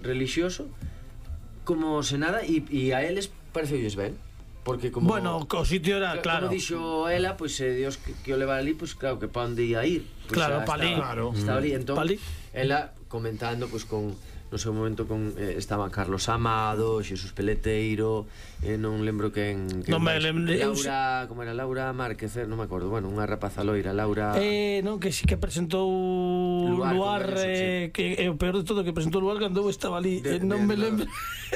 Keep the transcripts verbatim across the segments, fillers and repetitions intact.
religioso como se nada, e a eles pareceulles ben. Porque como... Bueno, o sitio era, claro. Como dixo ela, pois pues, eh, Dios que, que o leva ali, pois pues, claro, que pa onde ia ir. Pues, claro, pa ali. Estaba, estaba ali, entón, ela comentando, pois pues, con... No seu momento con eh, estaba Carlos Amado, Xesús Peleteiro, eh, non lembro quen, quen non me lembro. Laura, como era Laura Márquez, non me acordo, bueno, unha rapaza loira, Laura. Eh, non, que si que presentou Luar, Luar eh, sí. Que é o peor de todo que presentou Luar cando estaba ali, de, eh, non me lembro.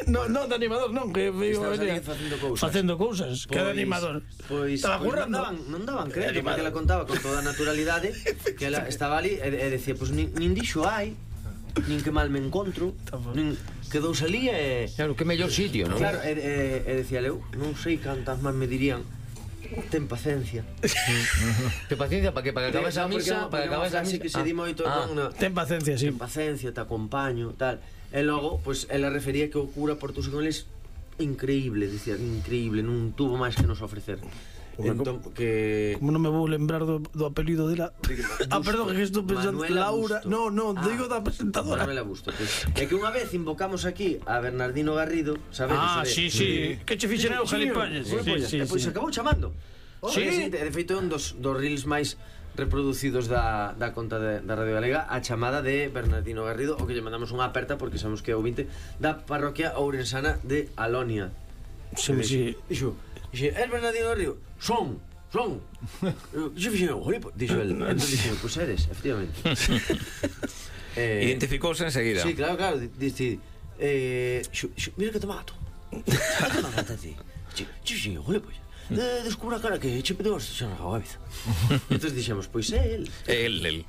Non, non, de animador, non, que veio facendo cousas. Facendo cousas, que de animador. Pois estaba pues, currando. Non daban, non daban crédito, porque ela contaba con toda a naturalidade que ela estaba ali e, e decía, pois pues, nin, nin dixo hai, nin que mal me encontro, nin quedou salí e... Claro, que mellor sitio, non? Claro, e, e, e decía eu, non sei cantas máis me dirían, ten paciencia. Ten paciencia para que para que acabes a misa, para que acabes a misa que se di moito, non, ten paciencia, sí. Ten paciencia, te acompaño, tal. E logo, pois ela refería que o cura portouse con eles increíble, dicía, increíble, non tuvo máis que nos ofrecer. Entón, que... Como non me vou lembrar do, do apelido dela. Ah, perdón, que estou pensando Laura. No, no, ah, digo da presentadora Manuela Busto, pues. É que unha vez invocamos aquí a Bernardino Garrido, sabedes? Ah, sí, sí, que che fixen eu, Jalipañes. E pois acabou chamando. Sí, de feito é un dos, dos reels máis reproducidos da, da conta de, da Radio Galega, a chamada de Bernardino Garrido, o que lle mandamos unha aperta porque sabemos que é o vinte da parroquia ourensana de Alonia. Sí, sí. Dixo, dixo, el Bernardino Garrido, son, son. Dixo, dixo, dixo el, entón dixo, pois eres, efectivamente. eh, Identificouse enseguida. Sí, claro, claro, dice, eh, mira que te mato. Que te mato a ti? Dixo, dixo, jole, pois. De, descubra cara que che pedou xa na cabeza. Entón dixemos, pois é el. É el, el.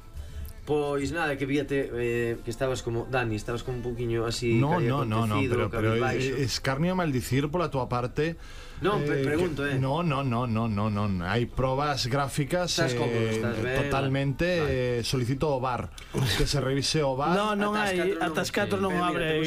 Pois nada, que víate eh, que estabas como Dani, estabas como un poquinho así. No, no, no, no, pero, pero escarnio a maldicir pola tua parte. Non, eh, pregunto, eh. No, no, no, no, no, no. Hai probas gráficas eh, totalmente vale. eh, solicito o V A R, que se revise o V A R. No, non hai, ata as catro non abre.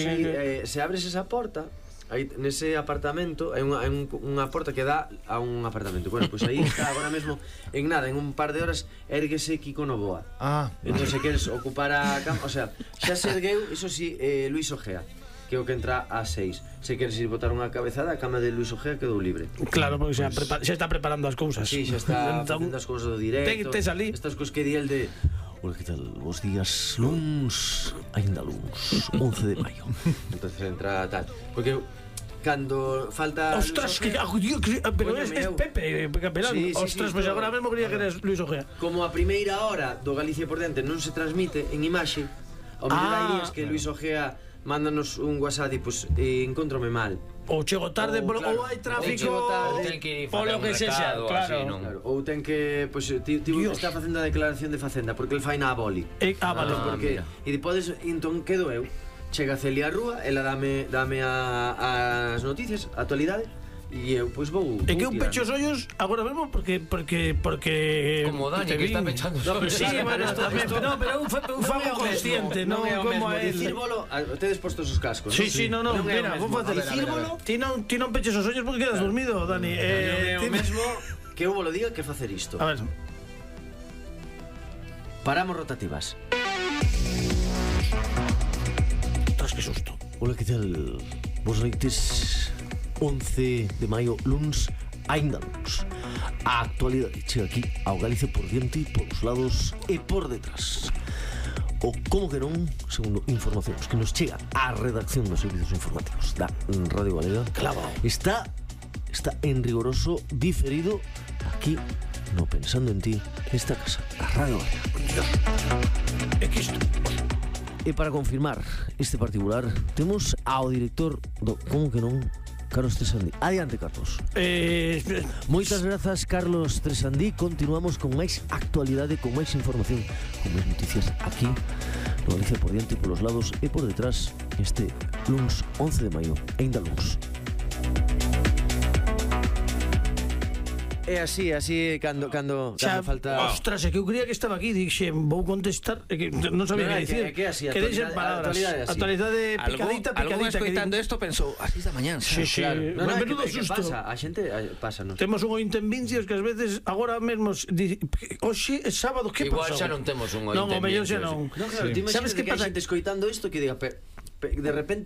Se abres esa porta, aí nese apartamento hai unha, un, unha porta que dá a un apartamento. Bueno, pois pues aí está agora mesmo en nada, en un par de horas érguese Kiko Novoa. Ah. Entón se queres ocupar a cama, o sea, xa se ergueu, iso si, eh, Luis Ojea, que é o que entra a seis. Se queres ir botar unha cabezada, a cama de Luis Ojea quedou libre. Claro, porque xa, pues, xa está preparando as cousas. Sí, xa está facendo as cousas do directo. Te salí. Estas cousas que di el de... Hola, que tal? Bos días, luns, ainda luns, once de maio. Entonces entra tal, porque cando falta... Ostras, que, que, pero es, es Pepe Capelán. Sí, sí, ostras, sí, pois pues agora mesmo quería que eres Luis Ojea. Como a primeira hora do Galicia por Diante non se transmite en imaxe, ao mellor hai días que Luis Ojea mándanos un WhatsApp e pues, eh, encontrome mal. Ou chego tarde, ou, claro, ou hai tráfico, ou ten que ir polo que sexa, claro. Así, non? Claro. Ou ten que, pues, ti, ti está facendo a declaración de Facenda porque el fai na aboli. Eh, ah, vale, ah, porque e depois entón quedo eu. Chega Celia Rúa, ela dame dame a, as noticias, a actualidade. E eu, pois vou... É que eu pecho os ollos agora mesmo porque... porque, porque como Dani, que está pechando os ollos. Sí, bueno, no, pero eu fago consciente, non como a él. Dicírvolo, tedes postos os cascos. Sí, sí, no, no, mira, vou facer dicírvolo. Ti non ti non peches os ollos porque quedas dormido, Dani. Eh, o mesmo que eu volo diga que facer isto. A ver. Paramos rotativas. Tras que susto. Hola, que tal? Vos noites... once de maio, luns, ainda luns. A actualidade chega aquí ao Galicia por diante, polos lados e por detrás. O como que non, segundo informacións que nos chega á redacción dos servicios informativos da Radio Galega, claro, está está en rigoroso diferido aquí no Pensando en Ti, esta casa, a Radio Galega. É que isto... E para confirmar este particular, temos ao director do como que non, Carlos Tresandí. Adiante, Carlos. Eh, Moitas grazas, Carlos Tresandí. Continuamos con máis actualidade, con máis información, con máis noticias aquí no Galicia por diante, polos lados e por detrás, este luns once de maio, ainda luns. É así, así cando cando xa, falta. Ostras, é que eu creía que estaba aquí, dixe, vou contestar, é que non sabía que dicir. É que así, que deixen palabras. Actualidade picadita, picadita. Algún escoitando isto pensou, así da mañán. Sí, sí, claro. Menudo susto. Pasa, a xente pasa, non. Temos un ointe en Vincios que ás veces agora mesmo hoxe é sábado, que igual pasou? xa non temos un ointe. Non, o mellor xa non. Non, claro, ti imaginas que hai xente escoitando isto que diga, de repente